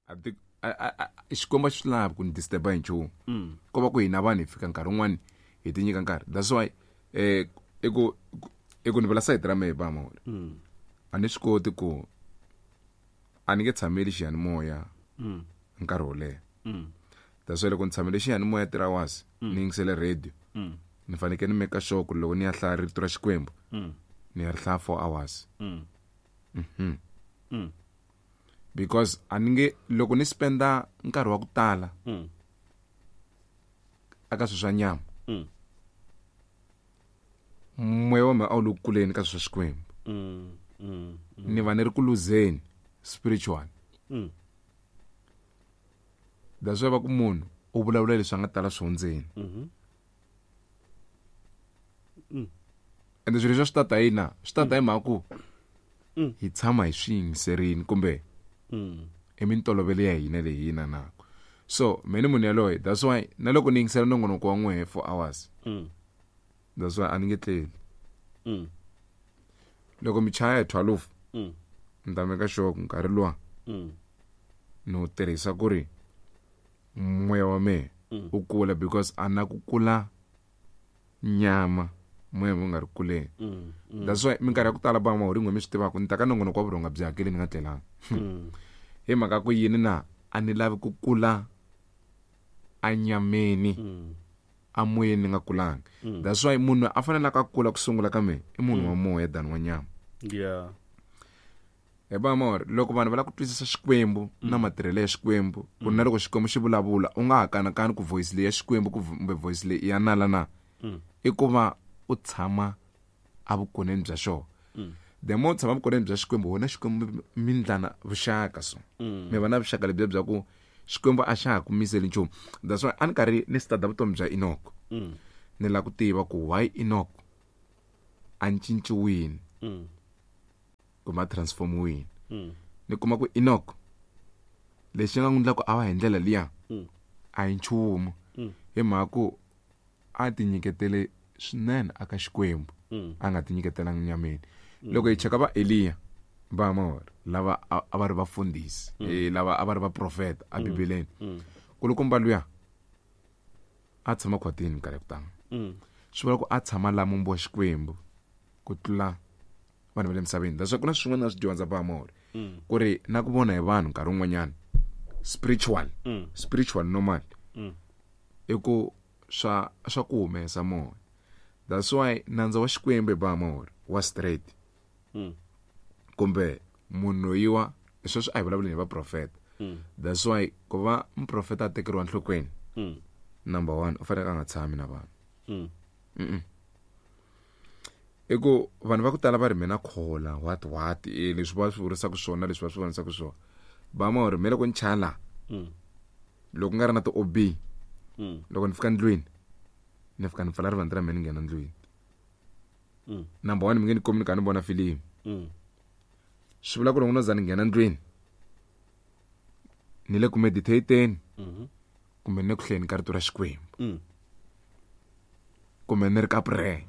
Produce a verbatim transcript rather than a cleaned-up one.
A ti xikwembu xi lavi ku ni disturb hi nchumu ko va ku hina vanhu hi fika nkarhi wun'wani hi ti nyika nkarhi that's why eh i ku i ku ni vula sayiti ra mehe ba mawona a ni swi koti ku a ni nge tshameli xiyanimoya nkarhi wo leha that's why loko ni tshamele xiyanimoya three hours ni yingisele radio ni fanekele ni make sure ku loko ni ya hlaya rito ra xikwembu ni ya ri hlaya four hours mhm because a ni nge loko ni spenda nkarhi wa ku tala aka swilo swa nyama moya wa mina a wu le ku kuleni ka swilo swa xikwembu ni va ni ri ku luzeni spiritual that's why va ku munhu u vulavula leswi a nga tala swo ndzeni ende swilo leswi swi tata yina swi tata hi mhaka ku hi tshama hi swi yingiserini kumbe i mintolovelo ya hina leyi hina nako so me ni munhu yaloye that's why na loko ni yingisela nongonoko wa n'wehe four hours that's why a ni nge tleli loko mi chaya hi twelve ni ta meka sure ku nkarhi luwa ni wu tirhisa ku ri moya wa mehe wu kula because a na ku kula nyama moya wu nga ri kuleni that's why minkarhi ya ku tala ba mahuri n'we mi swi tivaka ni ta ka nongonoko wa vurhonga byi hakeli ni nga tlelanga hi mhaka ku yini na a ni lavi ku kula anyameni amoyeni ni nga kulanga that's why munhu a fanelaka a kula ku sungula ka mehe i munhu wa moya than wa nyama yeah hi ba mawari loko vanhu va lava ku twisisa xikwembu na matirhelo ya xikwembu ku na loko xikwembu xi vulavula u nga ha kanakani ku voice leyi ya xikwembu kumbe voice leyi ya nala na i ku va u tshama evukoneni bya xona the more u tshama evukoneni bya xikwembu wena xikwembu mi ndlana vuxaka so mi va na vuxaka lebyiya bya ku xikwembu a xa ha ku miseli nchumu that's why a ni karhi ni stada vutomi bya Enoch ni lava ku tiva ku why Enoch a cinciwile kumbe a transformiwile ni kuma ku Enoch lexi nga n'wi endla ku a va hi ndlela liya a hi nchumu hi mhaka ku a ti nyiketele swinene aka xikwembu a nga ti nyiketelanga nyameni loko hi cheka va Eliya va mawari lava a va ri vafundhisi lava a va ri vaprofeta ebibeleni kulukumba luya a tshama khwatini minkarhi ya ku tala swi vula ku a tshama laha mumbi wa xikwembu ku tlula vanhu va le misaveni that's why ku na swin'wana na swi dyondza ba mawari ku ri na ku vona hi vanhu nkarhi wun'wanyana spiritual spiritual normal i ku swa swa ku humesa moya that's why nandza wa xikwembu hi ba mawari wa straight kumbe munhu loyiwa sweswi a hi vulavuli hi vaprofeta that's why ku va muprofeta a tekeriwa nhlokweni number one u fanele a nga tshami na vanhu mm i ku vanhu va ku tala va ri mina khola what what e leswi va swi vurisaka swona leswi va swi vonisaka swona ba mawari me loko ni chaya laha loko nga ri na ti-O B loko ni fika ndlwini ni fika ni pfala rivanti ra mina ni nghena ndlwini number one mi nge ni komi ni kha ni vona filimi swi vula ku loko no za ni nghena ndlwini ni le ku meditateni kumbe ni le ku hlayeni ka rito ra xikwembu kumbe ni ri ka prayer